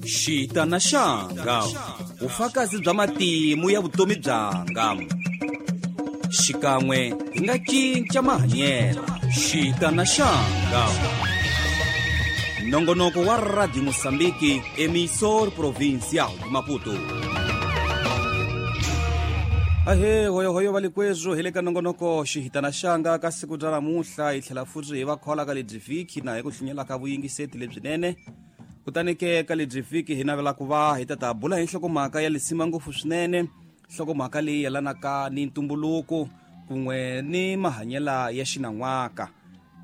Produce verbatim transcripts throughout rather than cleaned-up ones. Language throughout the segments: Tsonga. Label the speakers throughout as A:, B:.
A: Xitana xanga, vufakazi bya matimu ya vutomi byanga. Xikan'we hi nga cinca mahanyelo. Xitana xanga. Nongonoko wa Radio Mozambique, emissor provincial de Maputo. Ahe, hoyo hoyo valikwezo hi le ka nongonoko xihitana xanga ka siku ra namuntlha hi tlhela futhi hi va khola ka lebyi vhiki na hi ku hlunyela ka vuyingiseti lebyinene. Kutani ke ka lebyi vhiki hi navela ku va hi ta ta bula hi nhlokomhaka ya lisima ngopfu swinene, nhlokomhaka leyi yelanaka ni ntumbuluko kun'we ni mahanyela ya xinan'waka.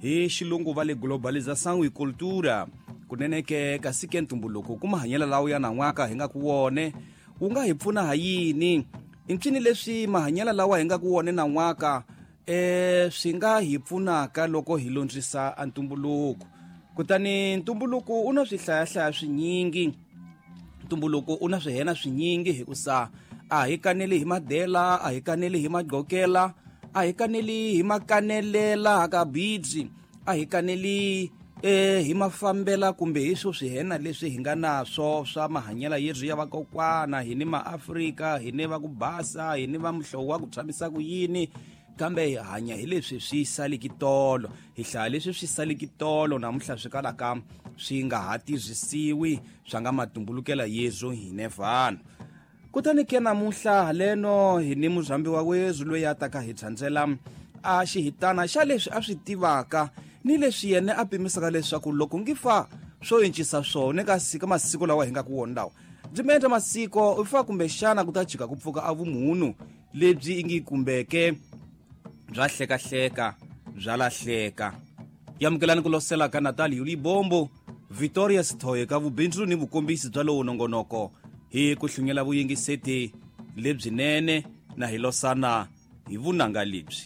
A: Hi xilungu va le globalisation e cultura. Kunene ke kasi ke ntumbuluko ku mahanyela lawo ya nan'waka hi nga ku wone wu nga hi pfuna ha yini? I ncini leswi mahanyela lawa hi nga ku wone nan'waka eh swi nga hi pfunaka loko hi londzisa a ntumbuluko? Kutani ntumbuluko u na swihlayahlaya swinyingi, ntumbuluko u na swihena swinyingi hikusa a hi kaneli hi madela, a hi kaneli hi magqokela, a hi kaneli hi makanelela ka bidzi, a hi kaneli eh hi mafambela kumbe hi swo swihena leswi hi nga naswo swa mahanyela yethu ya vakokwana. Hi ni maAfrika, hi ni va ku basa, hi ni va muhlovo wa ku tshamisa ku yini, kambe hi hanya hi leswi swi saliki tolo, hi hlaya leswi swi saliki tolo namuntlha swi kalaka swi nga ha tirhisiwi swa nga matumbulukela yezu hine vanhu. Kutani ke namuntlha haleno hi ni muzambi wa wezu loyi a taka hi tsandzela a xihitana xa leswi a swi tivaka ni leswi yena a pimisaka leswaku loko ngi fa swo encisa swona kasi ka masiku lawa hi nga ku wona lawa. Ndzi mi endla masiko u fa kumbexana ku ta jika ku pfuka a vumunhu lebyi ingi kumbeke bya hlekahleka bya lahleka. Yamukelani ku losela ka Natal Yuli Bombo, Victoria Sithoye ka vubindzu ni vukombisi bya lowu nongonoko hi ku hlunyela vuyingiseti lebyinene na hi losana hi vunanga lebyi.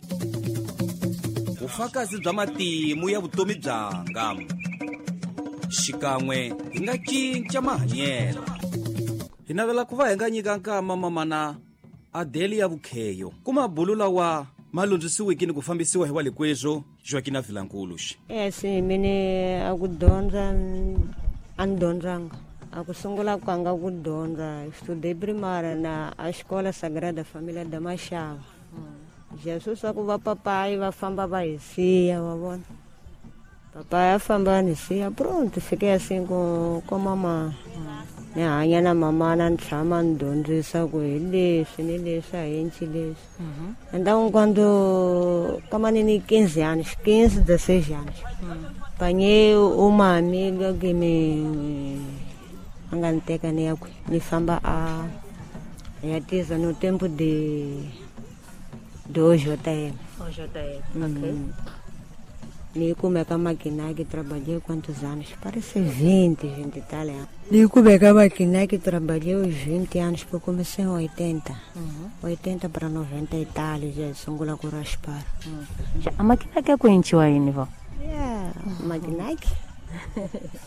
A: Vufakazi bya matimu ya vutomi byanga. Xikan'we hi nga cinca mahanyelo. Hi navela ku va hi nga nyika nkama mamana Adelia Vukheyo ku mabulu lawa ma lundzisiwiki ni ku fambisiwa hi walikwezo Joaquina Vilankuluxi.
B: Yes, mine a ku dyondza a ni dyondzanga. A ku sungula kwanga ku dyondza estudei primária na a Escola Sagrada Família da Machava. Jesus swa ku va papai va famba va hi siya, wa vona. Papai a famba ni siya, pronto, fiquei assim com com mamã. Ni hanya na mamã na ni tshama ni dyondzisa ku hi leswi ni leswi a hi endli leswi. Então quando como ni quinze anos, quinze, dezesseis anos, apanhei uma amiga que me a nga ni teka ni ya kwi ni famba a ya tiza no tempo de de O J M.
C: O J M, ok.
B: Hum. Ni kumeka Maquinac, trabalhei quantos anos? Parece vinte, vinte e tal. Ni kumeka Maquinac, trabalhei uns vinte anos, porque comecei em oitenta.
C: Uhum.
B: oitenta para noventa e tal, já sungula ku raspar.
C: Uhum. A Maquinac é quente aí, Nivo?
B: É, Maquinac.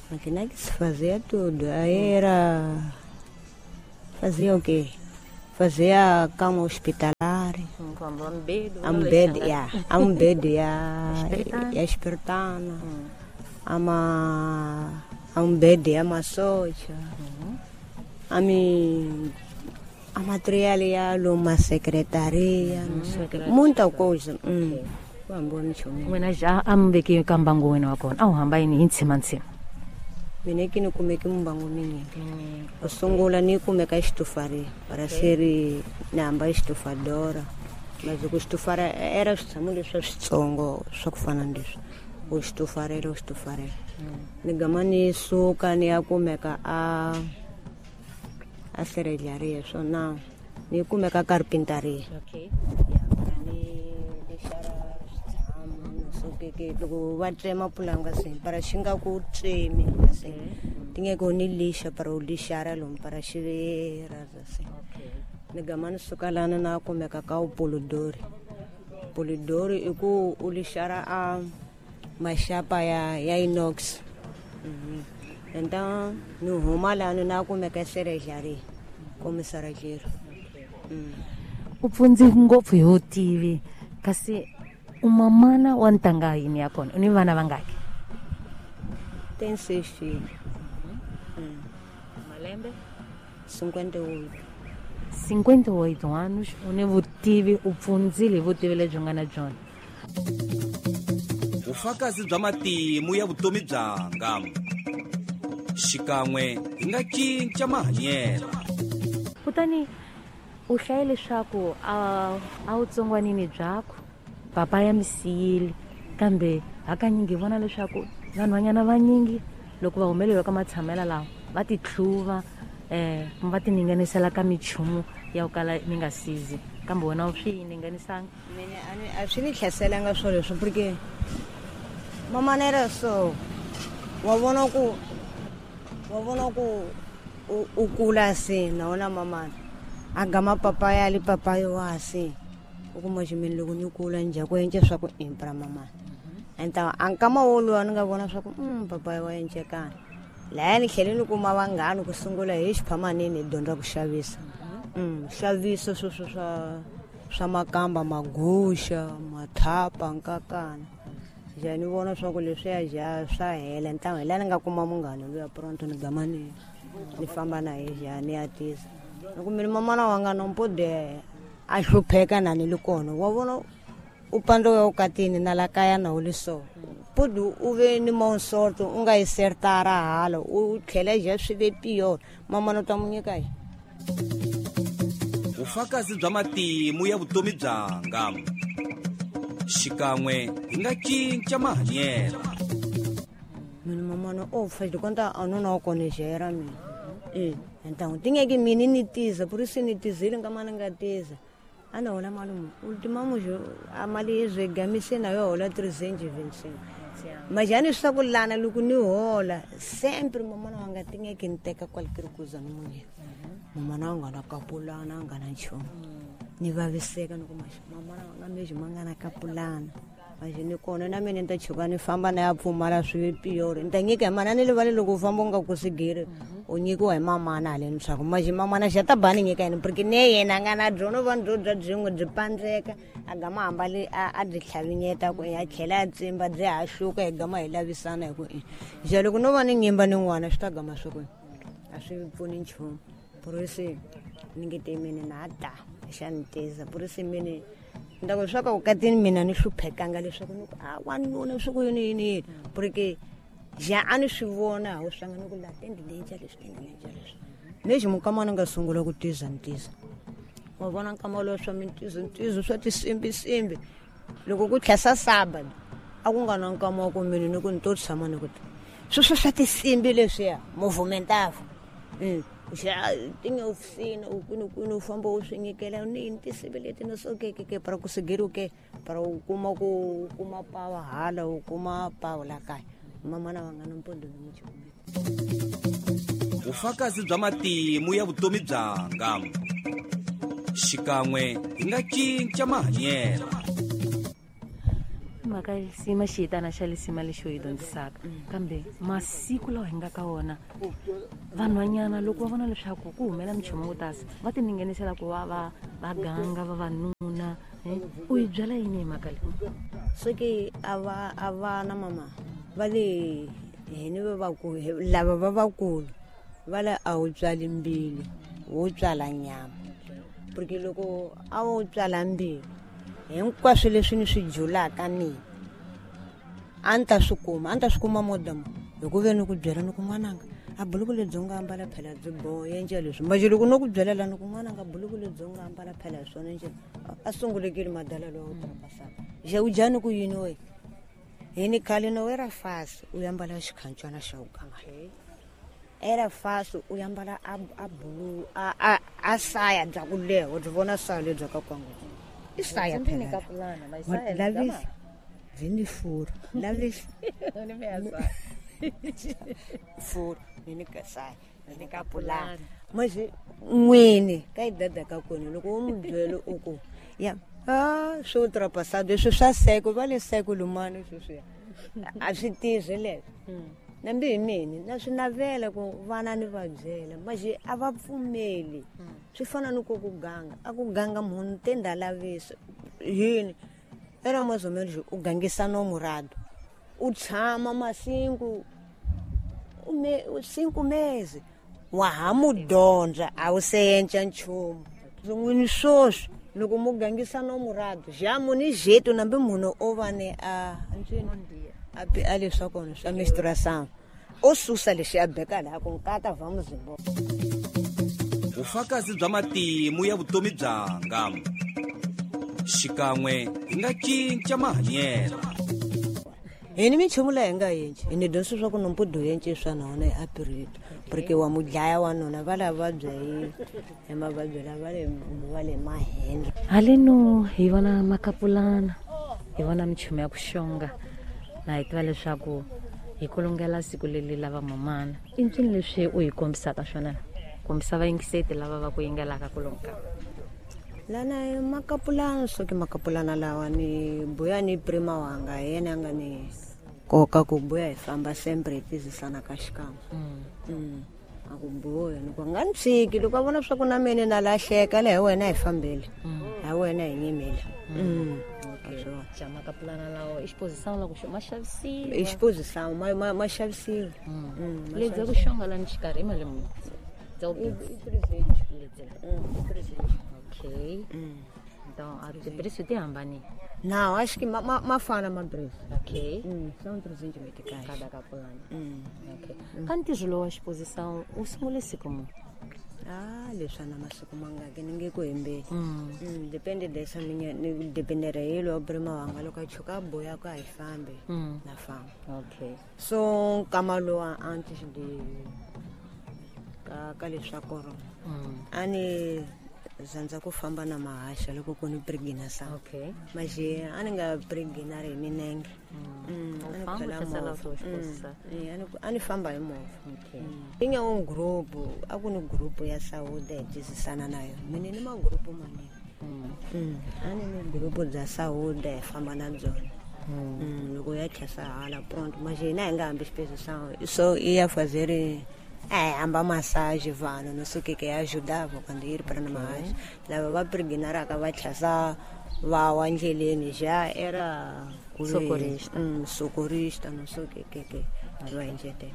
B: Maquinac se fazia tudo. Aí era... Fazia o quê? Fazia cama hospitalar. Ambed, yeah. Ambed, yeah. Ya espertana. Ama ambed ya masocha. Ami a material ya luma secretaria, não sei o quê. Muita coisa. Hum. Vambona chomi.
C: Wena já ambeki kambango wena wakona. Awu hamba yini intsima ntsima.
B: Mina ke ni kumeke mbango mingi. O sungula ni kumeka estufaria para ser ni hamba estufadora. Mas o estufar era switshamo leswi switsongo swa ku fana na leswi. O estufarela, o estufarela. Ni gama ni suka ni ya kumeka a a serralharia swona. Ni kumeka carpintaria.
C: Okay.
B: Ni lexara switshamo no so ke ke loko va tsema pulanga se para xi nga ku tsemi se. Tinge ku ni lixa para u lixara lomu para xi ra se. Ni gama ni suka lana na kumeka ka upolodori. Polodori i ku u lixara a maxapa ya ya inox. Mm-hmm. Então ni huma lana na kumeka serralharia como serralheiro. Mm.
C: U pfundzi ngopfu hi vutivi kasi u mamana wa ntanga yini ya kona u ni vana vangaki?
B: Tem seis filhos. Mm.
C: Malembe?
B: cinquenta e oito.
C: cinquenta e oito anos, u ni vutivi, u pfundzile hi vutivi lebyi nga na byona.
A: Vufakazi bya matimu ya vutomi byanga. Xikan'we hi nga cinca mahanyelo.
C: Kutani u hlaye leswaku a a wu tsongwanini byakho, papa ya mi siyile, kambe hakanyingi hi vona leswaku vanhwanyana vanyingi loko va humeleriwa ka matshamelo lawa va ti tlhuva, eh va ti ninganisela ka michumu ya ku kala mi nga sizi, kambe wena u swi ninganisanga.
B: Mina a ni a swi ni hlaselanga swilo leswi porque mamanera so wa vona ku wa vona ku u kula se na wona mamana a gama papa ya li papa yo wa se u kuma ximini loko ni kula njha ku endla swa ku impra mamana. Então a nkama woluwa ni nga vona swa ku mm papa wa encekana laha ni tlhele ni kuma vanghana ku sungula hi xiphamanini hi dyondza ku xavisa. Mm xavisa sweswo swa swa makamba, maguxa, mathapa, nkakana. Ja ni vona swa ku leswiya ja swa hela. Ntango hi laha ni nga kuma munghana luya pronto ni gama ni ni famba na ye ja ni ya tisa. Loko mina mamana wa nga nompode a hlupheka na ni li kona wa vona u pando ya ukatini na la kaya na uli so pudu u ve ni monsorto u nga yi sertara hala u tlhela ja swi ve piyo mamana ta munyika yi.
A: Vufakazi bya matimu ya vutomi byanga. Xikan'we hi nga cinca mahanyelo.
B: Mina mamana o fa konta a nuna wa kona jera mina. Eh então tinha que mini ni tiza por isso ni tizile nga mana nga tiza. Ana hola malume, ultimamos a mali yezegamise na yo hola trezentos e vinte e cinco. Mas já não está com lana loko ni hola, sempre mamana wa nga tinha que nteka qualquer coisa no munye. Mamana wa nga na kapulana nga na nchumu. Ni vaviseka ni kuma mamana wa nga mesmo nga na kapulana. Mas ni kona na mina ni ta chuka ni famba na ya pfumala swi pior. Ni ta nyika mana ni livale loko u famba u nga kusigiri. U nyikiwa hi mamana haleni swa ku mas mamana xa ta ba ni nyika yini porque ne yena a nga na byona va byo bya byin'we byi pandzeka a gama hambali a byi tlhavinyeta ku a tlhela a tsimba byi hahluka hi gama hi lavisana hi ku i ja loko no va ni nyimba ni n'wana swi ta gama swi ku a swi pfuni nchumu. Por isso ni nge te mina na ta xa ni tiza por isso mina ndako swa ka ukatini mina ni hluphekanga leswaku ni ku a wanuna swi ku yini yini yini porque ja a ni swi vona wu swanga ni ku la tendi lenja leswi tendi lenja leswi lexi mukama ni nga sungula ku tiza ni tiza wa vona nkama lowu swa mintizo ntizo swa tisimbisimbi loko ku tlhasa saba a ku nga na nkama wa ku mina ni ku ni to tshama ni ku sweswo swa tisimbi leswiya movimentava mm ja tinha oficina u kwini kwini u famba u swi nyikela ni tisimbi leti no so ke ke para conseguir o que para u kuma ku kuma pawa hala u kuma pawa la kaya mamana wa nga na mpondo ni muchumu.
A: Vufakazi bya matimu ya vutomi byanga. Xikan'we hi nga cinca mahanyelo.
C: Mhaka lisima xiyitana xa lisima lexi u yi dyondzisaka kambe masiku lawa hi nga ka wona vanhwanyana loko va vona leswaku ku humela minchumu wo tasa va ti ninganisela ku va va va ganga vavanuna. U yi byela yini hi mhaka leyi?
B: Soki a va a va na mama va le hini va vakulu lava va vakulu va le a wu tswali mbilu wo tswala nyama porque loko a wo tswala mbilu hinkwaswo leswi ni swi julaka mina a ni ta swi kuma a ni ta swi kuma modamo hi ku ve ni ku byela ni ku n'wananga a buluku lebyi u nga ambala phela byi boha endla leswi manje loko no ku byela la ni ku n'wananga buluku lebyi u nga ambala phela hi swona njhe a sungulekile madala lowa u trapasaka ja u jani ku yini we hi ni khale no era fácil u ambala xikhancana xa u ganga era fácil u ambala a a bulu a a a saya bya ku leha u byi vona saya lebyi ka kwangu i saya phela lavisa vini furo lavisa furo ni ka saya ni ka pulana manje n'wini ka yi dada ka kona loko u n'wi byela u ku ya ah swo ultrapassado leswi swa seko va le seko lumani sweswiya a swi tirhi leswo nambi hi mina na swi navela ku vana ni va byela manje a va pfumeli swi fana ni ku ku ganga a ku ganga munhu te ndalavisa yini era mais ou menos u gangisa namorado u tshama masinku cinco meses Wa ha mu dyondza a wu se yenca nchumu. N'wini swoswi loko mu gangisa no murado ja mu ni jeito nambe munhu o va ne a a a leswa kona swa menstruação o susa lexi a beka laha ku nkata vamos embora.
A: Vufakazi bya matimu ya vutomi byanga xikan'we hi nga cinca mahanyelo.
B: Hi ni minchumu leyi hi nga yenci hi ni dyondzisa swa ku nompudu yenci swa nona hi apirito porque wa mu dlaya wanuna va lava vabya hi hi mavabyi lava le va le mahenhla.
C: Haleno hi vona makapulana hi vona minchumu ya ku xonga na hi tiva leswaku hi kulungela siku leri lava mamana. I ncini leswi u hi kombisaka swona kombisa vayingiseti lava va ku yingelaka kulunga?
B: Lana makapulana so ke makapulana lawa ni buya ni prima wanga hi yena a nga ni koka ku buya hi famba sempre hi tizisana ka xikan'we. Mm. A ku buya ni ku nga ni tshiki loko a vona swa ku na mina na lahleka le hi wena hi fambile hi wena hi nyimile.
C: Ja makapulana lawa i xiposição la ku ma xavisiwa.
B: I xiposição ma ma ma xavisiwa.
C: Lebyi ku xonga lani xikarhi i mali muni? Okay. Então, a de preço ti hambanile.
B: Não, acho que ma, ma, mafana ma preço.
C: Ok.
B: Mm, são trezentos meticais.
C: Cada capulana.
B: Mm.
C: Ok. Kanti zwilowa exposição u sungule siku muni?
B: Ah, leswi na masiku mangaki ni nge ku hembeli.
C: Mm.
B: Mm, depende dessa minha ni dependere hi lowa prima wanga loko a chuka a boya ku a hi fambi
C: Mm.
B: na famba.
C: Okay.
B: So nkama lowa antes de ka ka leswa corona.
C: Mm.
B: A ni zandza ku famba na mahaxa loko ku ni pregnancy.
C: Okay.
B: Maje a ni nga pregnant hi minenge.
C: Mm.
B: Mm, a ni
C: U famba
B: khwela
C: u hlasela
B: movha.
C: swo xiposisa.
B: Mm. Eh, a ni a ni famba hi movha.
C: Okay.
B: Mm. I nga un group, a ku ni group ya saúde hi tizisana na yona. Mina ni magrupu manene.
C: Mm.
B: Mm. A ni ni group bya saúde hi famba na byona.
C: Mm.
B: Mm, loko ya tlhesa hala pronto. Maje hina hi nga hambi xiposisa. So i ya fazer é, hamba massage vanhu no sei o que que ajudava quando ir para na massage. Lava va pregnaraka va tlhasa va wa ndleleni já era
C: Socorrista.
B: Mm, socorrista no sei o que que que va enjete.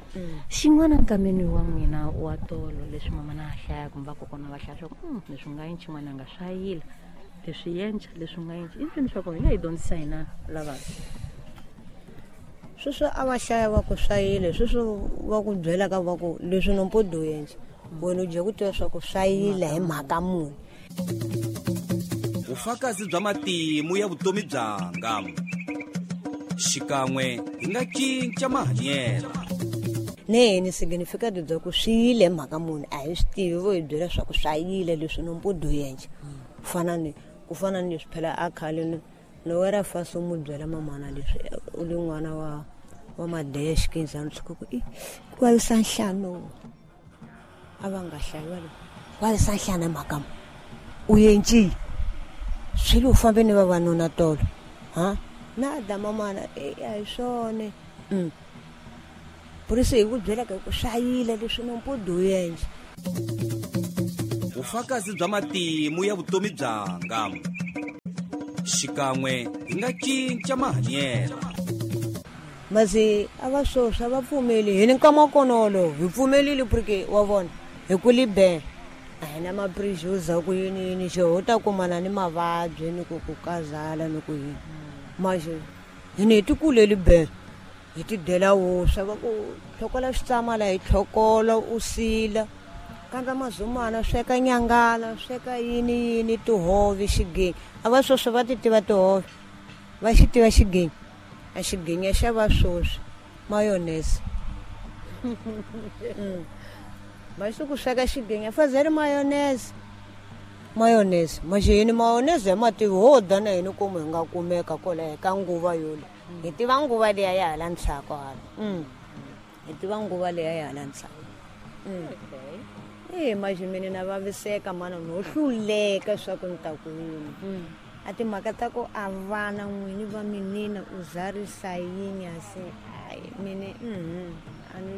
C: Xin'wana nkameni wa n'wina wa tolo leswi mama na hlaya kumbe vakokwana va hlaya swa ku mm, leswi nga yenci n'wananga swa yila leswi yenca leswi nga yenci i ncini swa kona hi nga hi dyondzisa hina lavantshwa?
B: Sweswo a va hlaya va ku swa yile sweswo va ku byela ka va ku leswi nompodo yenca wena u dya ku tiva swa ku swa yile hi mhaka muni.
A: Vufakazi bya matimu ya vutomi byanga xikan'we hi nga cinca mahanyelo.
B: Ne ni significado bya ku swi yile hi mhaka muni a hi swi tivi vo hi byela swa ku swa yile leswi nompodo yenca. Ku fana ni ku fana ni leswi phela a khale ni no era fácil mu byela mamana leswi u li n'wana wa wa madesh kinzani swi ku i ku vavisa nhlano a va nga hlayi va le vavisa nhlana mhaka u yenci swilo u fambe ni vavanuna tolo ha na da mamana e a hi swona. Mm. Por isso hi ku byela ka ku swa yile leswi nompodo yenca.
A: Vufakazi bya matimu ya vutomi byanga xikan'we hi nga cinca mahanyelo.
B: Masi a va swoswi a va pfumeli hi ni nkama kona wolowo hi pfumelile porque wa vona hi ku libe a hi na maprejuza ku yini yini xo ho ta kumana ni mavabyi ni ku ku kazala ni ku yini maje hi ni hi ti kuleli be hi ti dyela wuswa va ku tlhokola switsamala hi tlhokola u sila kandza mazumana sweka nyangala sweka yini yini tihove xigenya a va swoswi va ti tiva tihove va xi tiva xigenya a xigenya xa va swoswi mayonnaise. Mm. Va xi ku sweka xigenya fazer mayonnaise mayonnaise maje yini mayonnaise ya mativi ho dya na hina komu hi nga kumeka kwalaho ka nguva yole hi tiva nguva liya ya hala ndzhaku hala. Mm. Hi tiva nguva liya ya hala ndzhaku. Mm.
C: Okay.
B: E maje mina na vaviseka mana no hluleka swa ku ni ta ku yini.
C: Mm.
B: A timhaka ta ku a vana n'wini va minina u zarisa yini a se ai mine mhm a ni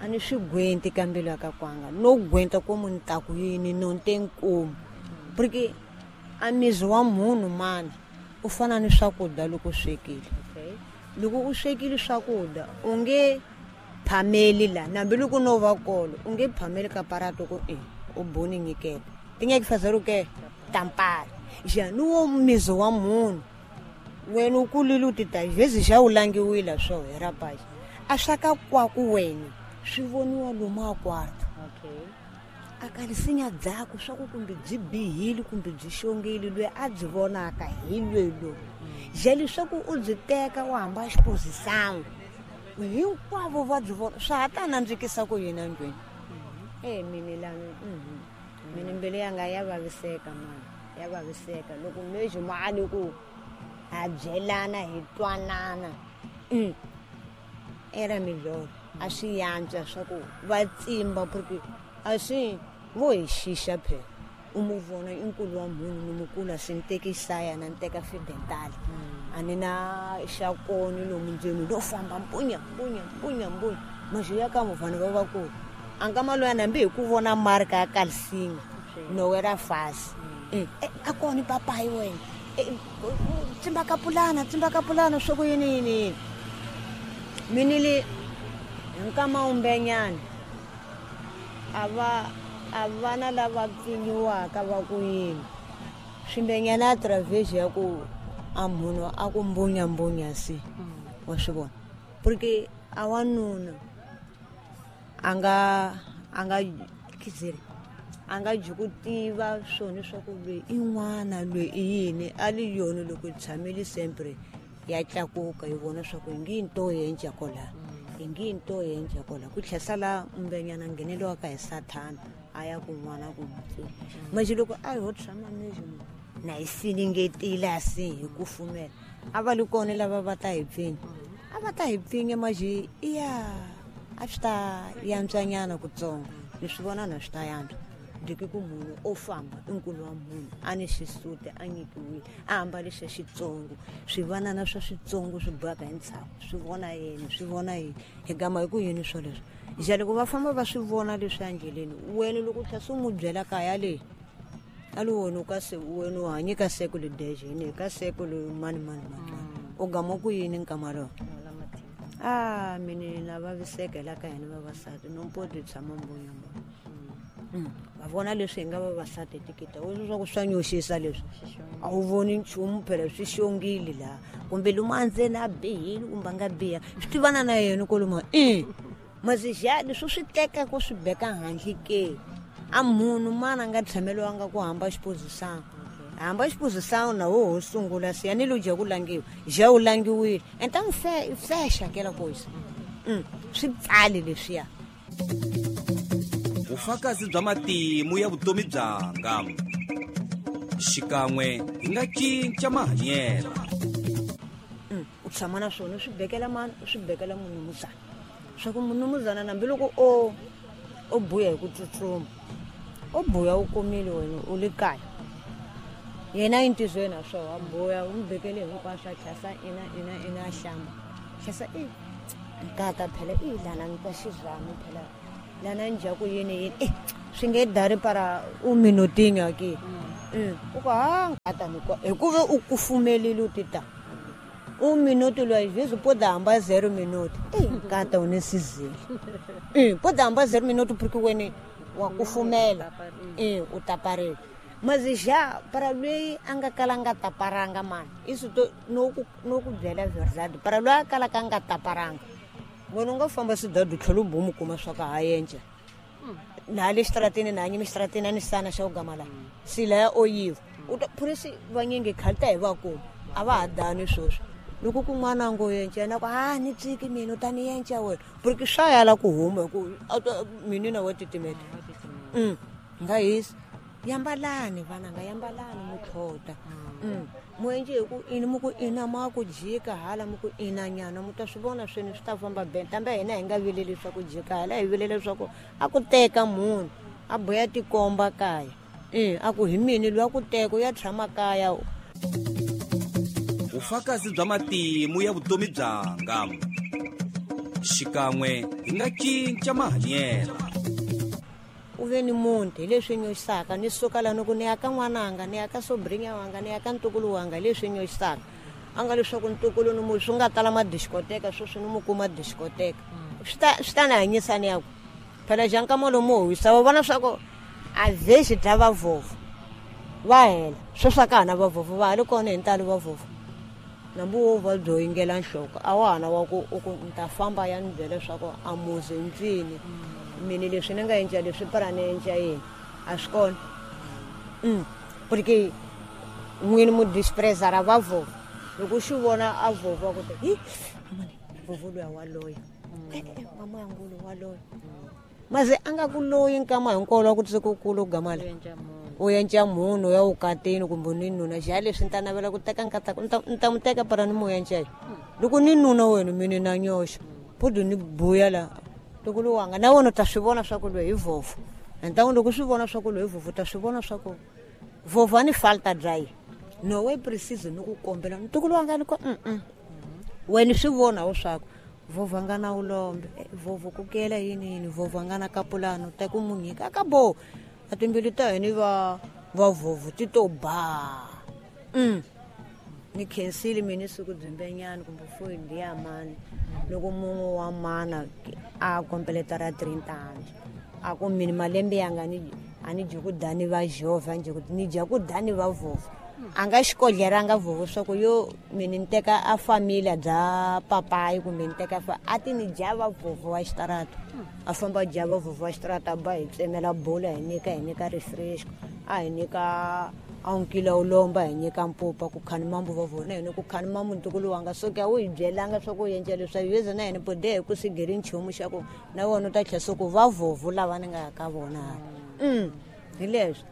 B: a ni swi gwenti ka mbilu ya ka kwanga no gwenta ku munhu ta ku yini no nte nkomu porque a mizi wa munhu mani u fana ni swakudya loko u swekile.
C: Okay.
B: Loko u swekile swakudya u nge phameli la nambi loko no va kolo u nge phameli ka parato ku e u boni nyiketa ti nge kufazela ke tampara jani wo mizo wa munhu wena u kulile u ti ta vezi xa u langiwile swo hi rapaji a swa ka kwaku wena swi voniwa lomu a kwarta
C: okay
B: a ka lisinya dzaku swa ku kumbe byi bihile kumbe byi xongile lwe a byi vonaka hi lwelo je leswaku u byi teka u hamba xipozisana hinkwavo va byi vona swa ha ta nandzikisa ku yini endlwini e mini lani mini mbilu yanga ya vaviseka mani ya vaviseka loko mexi mali ku ha byelana hi twanana era miloro a swi yantswa swa ku va tsimba porque a swi vo hi xixa phela u mu vona i nkulu wa munhu ni mukulu a swi ni teki xisaya na ni teka fidentali a ni na xakoni lomu ndzeni lo famba mpunya mpunya mpunya mpunya maxi ya ka vanhu va vakulu a nkama loyi hambi hi ku vona marka ya kalsinga no wera fasi a kona papayi wena tsimba ka pulana tsimba ka pulana swa ku yini yini yini mini li nkama umbenyana a va a vana lava pfinyiwaka va ku yini swimbenyana a travers ya ku a munhu a ku mbunya mbunya si wa swi vona porque a wanuna a nga a nga kizeri a nga byi ku tiva swona swa ku lweyi i n'wana lweyi i yini a li yona loko yi tshamile sempre ya tlakuka yi vona swa ku hi ngi nto yenca kola hi ngi nto yenca kola ku tlhela sala mbenyana ngheneliwaka hi sathana a ya kun'wana ku n'wi manje loko a ho tshama mexi na hi silingetile a si hi kufumela a va li kona lava va ta hi pfinya a va ta hi pfinya manje iya a swi ta yantswanyana kutsongo ni swi vona na swi ta yantswa ndiki ku munhu o famba i nkulu wa munhu a ni xisuti a nyikiwile a ambale xa xitsongo swivanana swa switsongo swi bohaka hi ntshaku swi vona yena swi vona yini hi gama hi ku yini swoleswo ja loko va famba va swi vona leswi endleleni wena loko u tlhela se u n'wi byela kaya leyi a li wena u ka se wena u hanyi ka siku ledexe yini ka siku le mani mani mani u gama ku yini nkama lowo a mini na vaviseka hi la ka hina vavasati nompoti tshama mbuya mbuya va vona leswi hi nga vavasati tikita u swa ku swa nyoxisa leswi a wu voni nchumu phela swi xongile laha kumbe lomu a ndzeni a bihile kumbe a nga biha swi tivana na yena koloma i masixa leswi swi teka ku swi beka handle ke a munhu mana a nga tshameliwanga ku hamba xipozisana hamba xipozisana na wo ho sungula siya ni lo dya ku langiwa ja u langiwile and ta n'wi fexa kela kosi swi pfali leswiya
A: vufakazi bya matimu ya vutomi byanga xikan'we hi nga cinca mahanyelo
B: u tshama na swona u swi bekela mani u swi bekela munumuzana swa ku munumuzana nambi loko o o buya hi ku tsutsuma o buya u kumile wena u le kaya yena i ntizweni a swo a buya u n'wi bekele hinkwaswo a tlhasa ina ina ina a hlamba tlhasa i nkata phela i lana ni twa xizami phela lana njaku yini yini eh swi nge dari para u minotinga ke u ku ha nkata ni kwa hikuva u kufumelile u ti ta u minuti loyi jesu po da hamba zero minuti eh nkata u ni sizile eh po da hamba zero minuti porque wena wa kufumela eh u taparela mazija para loyi a nga kala nga taparanga mani isu to no ku no ku byela verdade para loyi a kala ka nga taparanga wena u nga famba swidadu tlhela u bomu kuma swa ka ha yenca na le xitaratini na hanyimi xitaratini a ni sana xa ku gama laha sila ya oyiva u ta phurisi vanyingi khale ta hi va kuma a va ha dani sweswi loko kun'wana a ngo yenca yena ku ha ni tsiki mina u ta ni yenca wena porque swa yala ku huma hi ku mini na wa titimeta nga hisi yambalani vananga yambalani mutlhota muenje hi ku ini mu ku ina ma ku jika hala mu ku ina nyana mu ta swi vona swini swi ta famba ben kambe hina hi nga vileli swa ku jika hala hi vilele swa ku a ku teka munhu a boya tikomba kaya e a ku hi mini loyi a ku teka u ya tshama kaya
A: vufakazi bya matimu ya vutomi byanga xikan'we hi nga cinca mahanyelo
B: u ve ni munhu hi leswi nyoxisaka ni suka la ni ku ni ya ka n'wananga ni ya ka sobrinya wanga ni ya ka ntukulu wanga hi leswi nyoxisaka a nga leswaku ntukulu ni mu swi nga tala madiskoteka sweswi ni mu kuma diskoteka Swi ta swi ta ni hanyisa ni ya ku phela xa nkama lomu wisa va vona swa ku a ze xi dya vavhovho va hela sweswi a ka ha na vavhovho va ha ri kona hi ntalo vavhovho nambu wo va byo yingela nhloko a wa ha na wa ku u ku ni ta famba ya ni byela leswaku a muzi ntswini mini leswi ni nga endla leswi para ni endla yini a swi kona mm. Porque n'wini mu disprezara vavhovho loko u xi vona a vhovho ku te hi mani vhovho luya wa loya e-e mama ya ngulu wa loya maze a nga ku loyi nkama hinkwawo wa ku tse ku kulu gama le u yenca munhu ya ukatini kumbe ni nuna xa leswi ni ta navela ku teka nkatako ni ta ni ta n'wi teka para ni mu yenca yi loko ni nuna wena mini na nyoxa pudu ni buya la loko luwanga na wena u ta swi vona swa ku loyi hi vhovho ntangu loko swi vona swa ku loyi hi vhovho u ta swi vona swa ku vhovho a ni falta dry no we precise ni ku kombela ntukulu wanga ni ko mm wena swi vona wu swaku vhovho a nga na ulombe vhovho ku kela yini yini vhovho a nga na kapulano ta ku mu nyika ka bo a timbilu ta hina va va vhovho ti to ba mm ni khensile mina siku dzimbenyana kumbe foyi ndiya mani loko mun'we wa mana a kompeleta ra trintani a ku mini malembe yanga ni a ni dyi ku dani va jovha a ni dyi ku ni dya ku dani va vhovho a nga xikodleranga vhovho swa ku yo mini ni teka a familia bya papayi kumbe ni teka fa a ti ni dya va vhovho wa xitarata a famba dya va vhovho wa xitarata a ba hi tsemela bula hi nyika hi nyika refresh a hi nyika a nkila u lomba hi nyika mpupa ku khani mambu va vona hina ku khani mambu ntukulu wanga so ke a wu hi byelanga swa ku endla leswi a yeza na hina bode hi ku sigeri nchumu xa ku na wona u ta tlhela so ku va vhovho lava ni nga ya ka vona mm hi leswi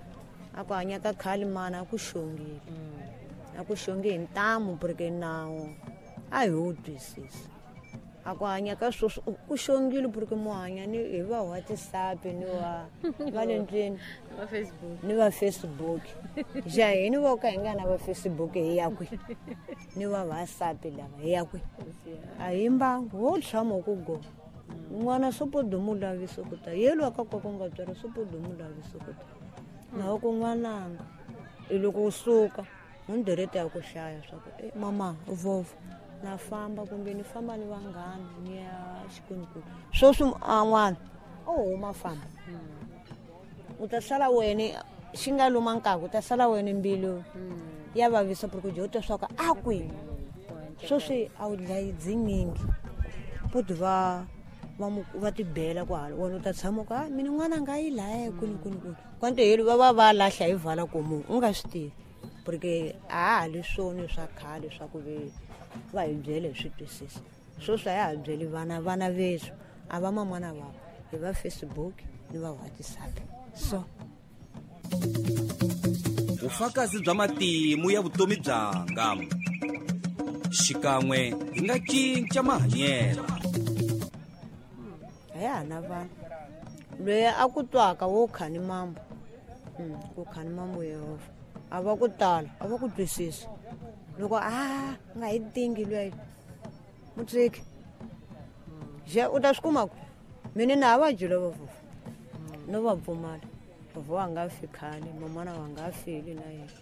B: a ku hanya ka khale mana a ku xongile a ku xongi hi ntamu porque nawu a hi wu twisisi a ku hanya ka sweswi ku xongile porque mu hanya ni hi va WhatsApp ni va va le ndlwini ni va Facebook ja hini vo ka hi nga na va Facebook hi ya kwi ni va WhatsApp lava hi ya kwi a hi mbangu wo tshama ku go n'wana sopodo mu lavisa ku ta yelo ka ku nga tswari sopodo mu lavisa ku ta na ku n'wananga i loko u suka hundirete ya ku hlaya swa ku e mama vhovho na famba kumbe ni famba ni vanghana ni ya xikwembu sweswi a n'wana o huma famba u ta sala wena xi nga luma nkaku u ta sala wena mbilu ya vavisa porque u dya swa ku a kwihi sweswi a wu dlayi dzinyingi puti va va va tibela kwahala wena u ta tshama ku a mina n'wana nga yi laya kwini kwini kwini kwanto heli va va va lahla hi vala komu u nga swi tivi porque a ha ha li swona swa khale swa ku ve va hi byele hi swi twisisa sweswi a ya ha byeli vana vana veswi a va mamana vavo hi va Facebook ni va WhatsApp so
A: vufakazi bya matimu ya vutomi byanga xikan'we hi nga cinca mahanyelo
B: a ya ha na vanhu loyi a ku twaka wo khani mambo ku khani mambo Yehovha a va ku tala a va ku twisisa loko a nga hi tingi loyi mutsiki je u ta swi kuma ku mina na ha va dyile vavhovho no va pfumala vhovho wa nga fi khale mamana wa nga feli na yena